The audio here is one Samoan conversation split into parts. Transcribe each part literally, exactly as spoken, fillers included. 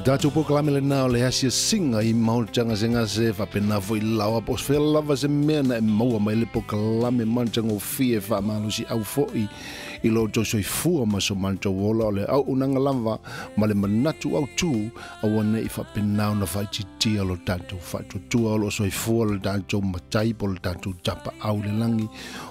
Tātou polokalame lena o le asiasiga i mautagasegase faapena foʻi laoa po o se fea lava se mea na e maua mai le polokalame matagofie faamalosiau foʻi i lo outou soifua ma so matou ola o le auaunaga lava ma le manatu autū aua neʻi faapena ona faaitiitia lo tatou faatuatua o loo soifua le tatou matai po le tatou tapaau i le lagi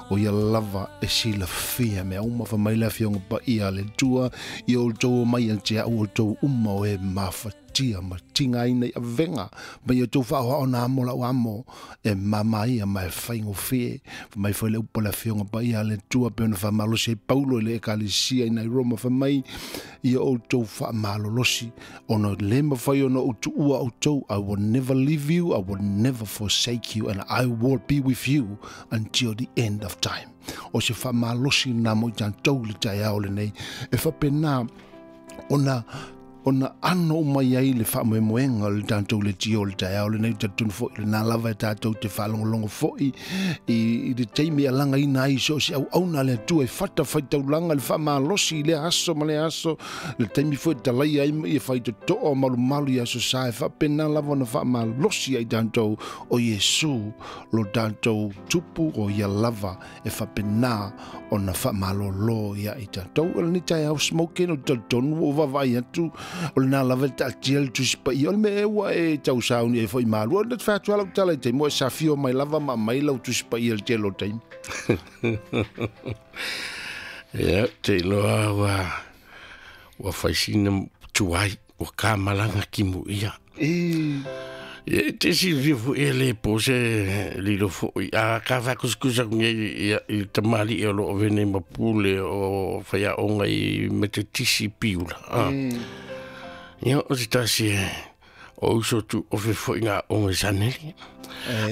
o ia lava e silafia mea uma faamai le afioga paia a le Atua ia outou omai ia te a'u outou uma o e mafatia ma tigaina i avega ma ia outou faaoao na amo la'u amo e mamaia ma e faigofie faamai foi le upu a le afioga paia a le Atua pe ona faamalosi ai Paulo i le ekalesia ina i Roma faamai ia outou faamalolosi ona lē mafai ona ou tuua outou. I will never leave you, I will never forsake you, and I will be with you until the end of time. O se faamalosi na mo i tatou le taeao lenei e faapena ona ona ano mai ai le faamoemoega o le tatou leitio o le taeao lenei talitonu foʻi lenā lava e tatou te faalogologo foʻi i, i le taimi e alagaina ai so o se auauna a le Atua e fata faitaulaga le faamalosi i lea aso ma lea aso le taimi foi e talaia ai ma ia faitotoa o malumalu i aso sa e faapena lava ona faamalosi ai tatou o Iesu lo tatou tupu o ia lava e faapena ona faamalōlō ia i tatou o lenei taeao smoking o talitonu ua vaavaai atu o lena lava le taatia le Tusi Paia o le mea ua e tausauni ai foʻi malua na te atu lau tala i taimi o e safio mai lava ma mai lau Tusi Paia le tele o taimi. Ia te iloa ua ua faisina tuai ua kamalaga kimu ia. E Ia e te silafia foʻi e lē po se lilo foʻi a ka faakusikusa aku nei ia i tamalii o loo venei ma pule o faiaoga i Metetisi Piula a. Ia o se tasi e o uso tu ofe foʻi gaoga i saneli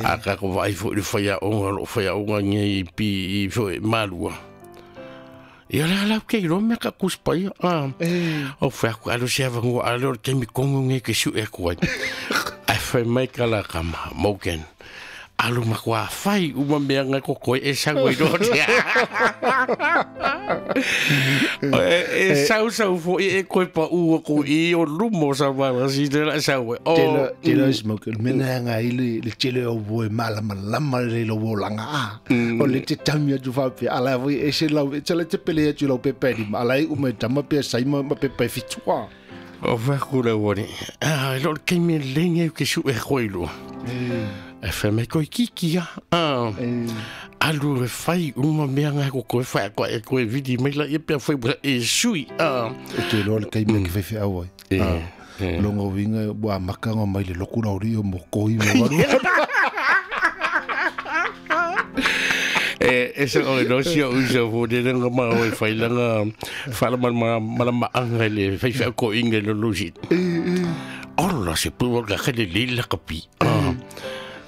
a ka ko vaai foʻi le faiaoga o loo faiaoga nei i pi i foʻi malua. Ia le ala ke ilo mea ka kuspaia. A. O fai aku alo se avangua alo le taimi kongo nge ke su e aku ai. Ai fai mai ka la kama, Morgan. Alu makua fai uma mea ngai ko koe e sau i rote. E sau sau fo e koe pa ua ko i o lumo sa wala si te la sau e. Tele tele smoke mena nga i le le tele o boe mala malama le lo wolanga a. O le te tami atu fa pe ala voi e se lau e tele te pele atu lau pe pe di ala i ume tama pe sai ma pe pe fitua. O fa kula wani. Ah, lo ke me lenge ke su e koilo. E fa mai koi kiki ya. Ah. Alu e fai uma mea ngai ko koe whai koe e koe vidi mai la ia pea whai e sui. Ah. E te loa le kai mea ke whai au ai. E. Longa winga wa makanga mai le loku na ori o mo koi mo waru. E e se o no si o uso fo de nga ma o whai langa whala ma ma ma anga le whai whai ko inga lo lusi. Ola se pua ka kele lila kapi. Ah.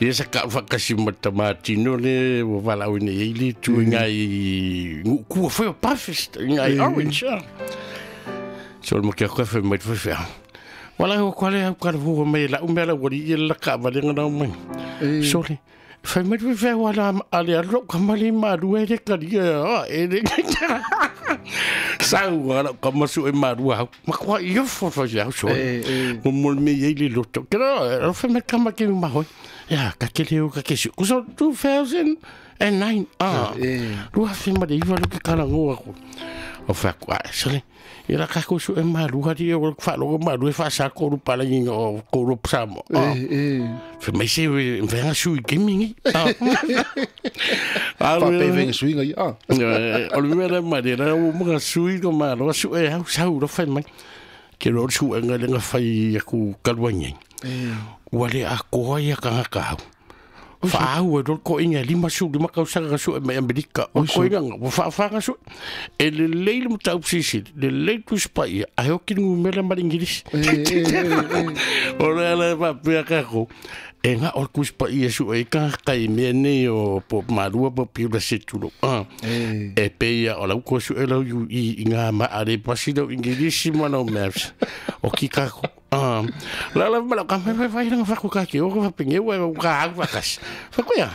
Ia sa ka whakasi matamatino le wa walau ni eili tu ngai kua whai o breakfast ngai orange. So le mokia koe whai mai whai whai. Wala ho kwale au ka fua mai la umela wali ia la ka wale ngana mai. Sorry. Whai mai whai whai wala ale alo ka mali marua e ka ria e le Sau wala ka masu e marua hau. Makua ia fo whai au so. Mo mo me ia le loto. Kera o whai mai kama ke mahoi. Ya, ka ke leo ka ke su. Kuso two thousand nine. Ah. Rua whai mai iwa lo ke karangoa ko. O whai aku, ah, sole. Ia la ka kusu e marua ri o wha logo marua e wha sa koru pala nginga o koru psamo. Ah. Whai mai se whai nga sui kimingi. Ah. Wha pe whai sui ngai. Ah. O le mea la mare la o mga sui ko marua su e hau sau ro whai mai. Ke ro su e ngai lenga whai aku kalua ngai. Ua le a koa ia ka ngaka hau. Whaau e rol ko inga lima su lima kausanga su e mai Amerika. O ko inga wa whaawhanga su. E le leile mo tau sisi, le leile tu spa ia. Ai hoki ngu mela mari Ingirisi. O le ala e wapea kako. E ngā o ku spa ia su e ka kai mea nei o po marua po piula se tulo. E pe ia o lau ko su e lau i, i ngā ma are pasi lau Ingirisi ma lau maps. O ki kako. Ah, la la mala ka me vai nga fa ka ke o ka penge wa ka ha ka kas. Fa ko ya.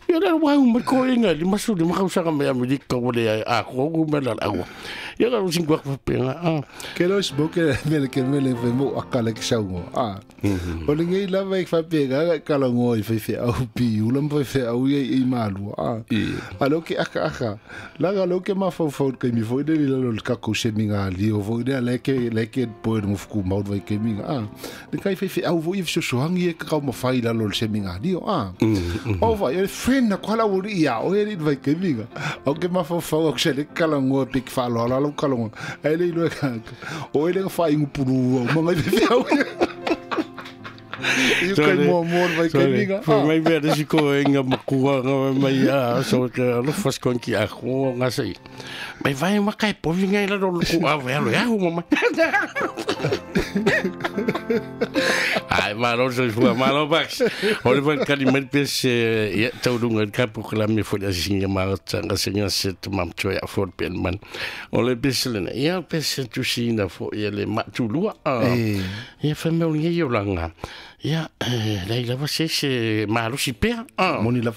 Ia le wa u mai ko inga li masu li makausaga me Amerika o le a ko ku me la awa. Ia ka sin kwa penga. Ah. Ke lo smoke me ke me le fe mo akale ke sau. Ah. O le ngai lava i fa pega ka la ngo i fe fe au pi u la fe fe au i i malu. Ah. A lo ke aka aka. La ga lo ke ma fo fo ke mi fo de la lo ka ko se mi nga li o fo de le ke le ke po no fu mau vai ke mi nga. Ah. Le kai fe fe au fo i so so hangi e ka ma fai la lo se mi nga li o. Ah. O va e fe na kwala wuri ia o eri vai ke minga o ke ma fo fo o se le kala ngo pik fa lo la lo kala ngo ele lo ka o ele fa ingu puru o manga fe au i kai mo mo vai ke minga fo mai be de ko inga makua nga mai a so ke lo fas kon ki a ko nga sei mai vai ma kai po vinga ila lo ku a ve lo ya mo mai ai malo so fu malo bax o le van kali mai pes ya tau dunga ka po kala mi fo da singa ma tanga singa set mam cho ya fo pen man o le pes le ya pes tu sina fo ya le ma tu lua ya fa me o ngi yo langa ya la ila va se se malo si pe moni la